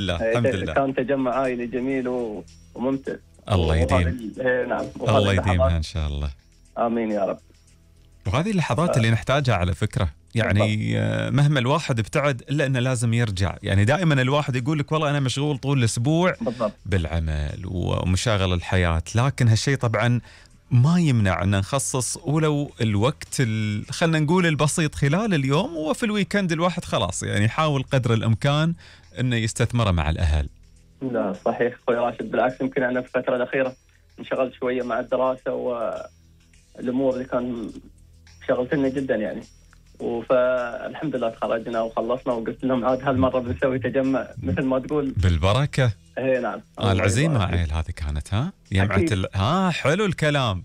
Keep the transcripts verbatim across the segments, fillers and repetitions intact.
لا الحمد لله. كان تجمع عائلي جميل وممتع. الله يديم. نعم. الله يديمها إن شاء الله. آمين يا رب. وهذه اللحظات اللي نحتاجها على فكرة، يعني مهما الواحد ابتعد إلا أنه لازم يرجع. يعني دائما الواحد يقول لك والله أنا مشغول طول الأسبوع بالضبط. بالعمل ومشاغل الحياة، لكن هالشيء طبعا ما يمنع أن نخصص ولو الوقت خلنا نقول البسيط خلال اليوم، وفي الويكند الواحد خلاص يعني يحاول قدر الإمكان أنه يستثمره مع الأهل. لا صحيح أخوي راشد، بالعكس يمكن أنا في الفترة الأخيرة انشغلت شوية مع الدراسة والأمور اللي كان شغلتني جدا يعني، فالحمد لله تخرجنا وخلصنا وقلت لهم عاد هالمرة بنسوي تجمع مثل ما تقول بالبركة. ايه نعم. آه العزيمة عيل هذه كانت ها يمعة ال... ها حلو الكلام.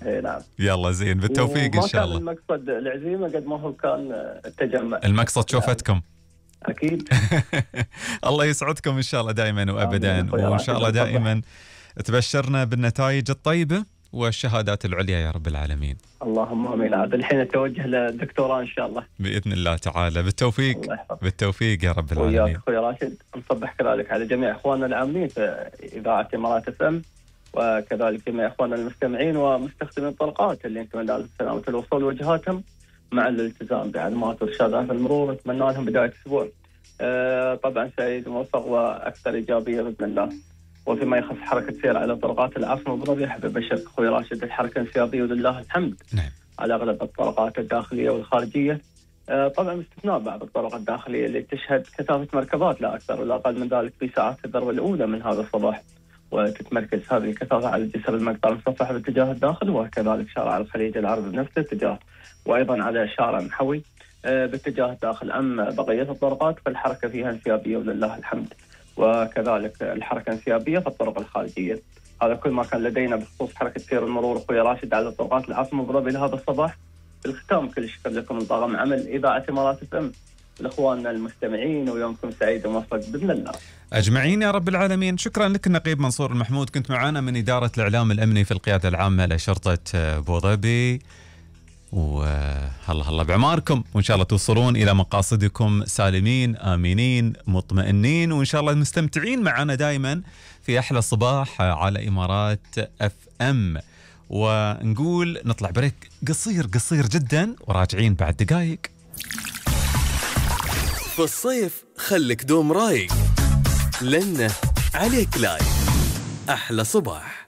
ايه نعم. يلا زين بالتوفيق إن شاء الله. ما كان المقصد العزيمة قد ما هو كان التجمع، المقصد شوفتكم. أكيد. الله يسعدكم إن شاء الله دائما وأبدا، وإن شاء الله دائما تبشرنا بالنتائج الطيبة والشهادات العليا يا رب العالمين. اللهم امين. عاد الحين اتوجه للدكتوراه ان شاء الله باذن الله تعالى. بالتوفيق بالتوفيق يا رب العالمين. وياك اخوي راشد. نصبح كذلك على جميع اخواننا العاملين في اذاعه امارات اف ام، وكذلك جميع اخواننا المستمعين ومستخدمين الطرقات اللي نتمنى لهم سلامه الوصول وجهاتهم مع الالتزام بعلامات وارشادات المرور. نتمنى لهم بدايه اسبوع أه طبعا سعيد وموفق واكثر ايجابيه باذن الله. وفيما يخص حركة سير على طرقات العاصمة أبو ظبي، أحب أبشرك أخوي راشد الحركة انسيابية ولله الحمد. نعم. على أغلب الطرقات الداخلية والخارجية، آه طبعا باستثناء بعض الطرق الداخلية اللي تشهد كثافة مركبات لا أكثر ولا أقل من ذلك في ساعات الذروة الأولى من هذا الصباح، وتتمركز هذه الكثافة على جسر المقطع المصفح باتجاه الداخل، وكذلك شارع الخليج العربي بنفس الاتجاه، وأيضا على شارع محوي آه باتجاه الداخل. أما بقية الطرقات فالحركة فيها انسيابية ولله الحمد، وكذلك الحركة انسيابية في الطرق الخارجية. هذا كل ما كان لدينا بخصوص حركة سير المرور أخوي راشد على طرقات العاصمة أبو ظبي لهذا الصباح. بالختام كل شكر لكم من طاقم عمل إذاعة إمارات اف ام، لإخواننا المستمعين، ويومكم سعيد وموفق بإذن الله أجمعين يا رب العالمين. شكرا لك النقيب منصور المحمود، كنت معنا من إدارة الإعلام الأمني في القيادة العامة لشرطة أبو ظبي، والله الله بعماركم، وإن شاء الله توصلون إلى مقاصدكم سالمين آمنين مطمئنين، وإن شاء الله مستمتعين معنا دائما في أحلى صباح على إمارات اف ام. ونقول نطلع بريك قصير قصير جدا وراجعين بعد دقائق. في الصيف خلك دوم رايق لأنه عليك لايف أحلى صباح.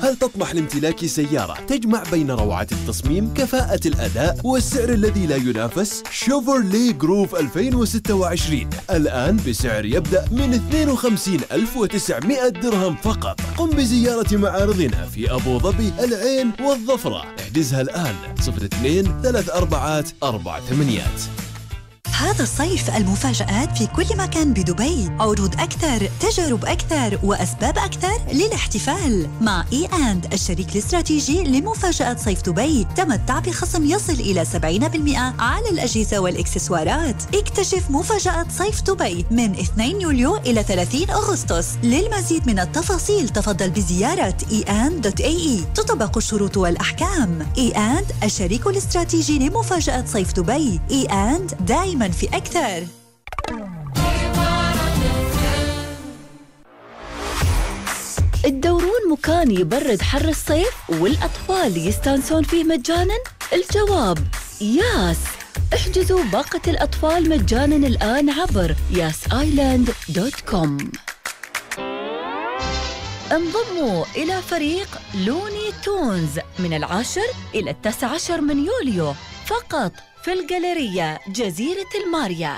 هل تطمح لامتلاك سيارة تجمع بين روعة التصميم، كفاءة الأداء والسعر الذي لا ينافس؟ شيفروليه جروف ألفين وستة وعشرين الآن بسعر يبدأ من اثنين وخمسين ألف وتسعمائة درهم فقط. قم بزيارة معارضنا في أبو ظبي، العين والظفرة. احجزها الآن صفر اثنين ثلاث أربعات أربع ثمانيات. هذا الصيف المفاجآت في كل مكان بدبي، عروض أكثر، تجارب أكثر، وأسباب أكثر للاحتفال مع إي أند الشريك الاستراتيجي لمفاجآت صيف دبي. تمتع بخصم يصل إلى سبعين بالمئة على الأجهزة والإكسسوارات. اكتشف مفاجآت صيف دبي من اثنين يوليو إلى ثلاثين أغسطس. للمزيد من التفاصيل تفضل بزيارة إي أند دوت إيه إي. تطبق الشروط والأحكام. إي أند الشريك الاستراتيجي لمفاجآت صيف دبي. إي أند دائما في أكثر. تدورون مكان يبرد حر الصيف والأطفال يستانسون فيه مجاناً؟ الجواب ياس. احجزوا باقة الأطفال مجاناً الآن عبر ياس آيلاند دوت كوم. انضموا إلى فريق لوني تونز من العاشر إلى التاسع عشر من يوليو فقط في الجاليرية جزيرة الماريا.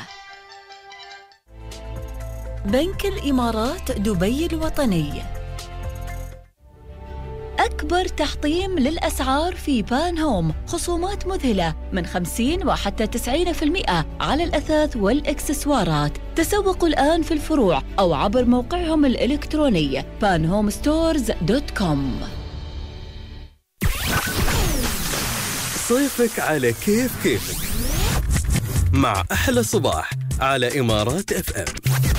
بنك الإمارات دبي الوطني. أكبر تحطيم للأسعار في بان هوم، خصومات مذهلة من خمسين وحتى تسعين بالمئة على الأثاث والإكسسوارات. تسوقوا الآن في الفروع أو عبر موقعهم الإلكتروني بان هوم ستورز دوت كوم. صيفك على كيف كيفك مع أحلى صباح على إمارات اف ام.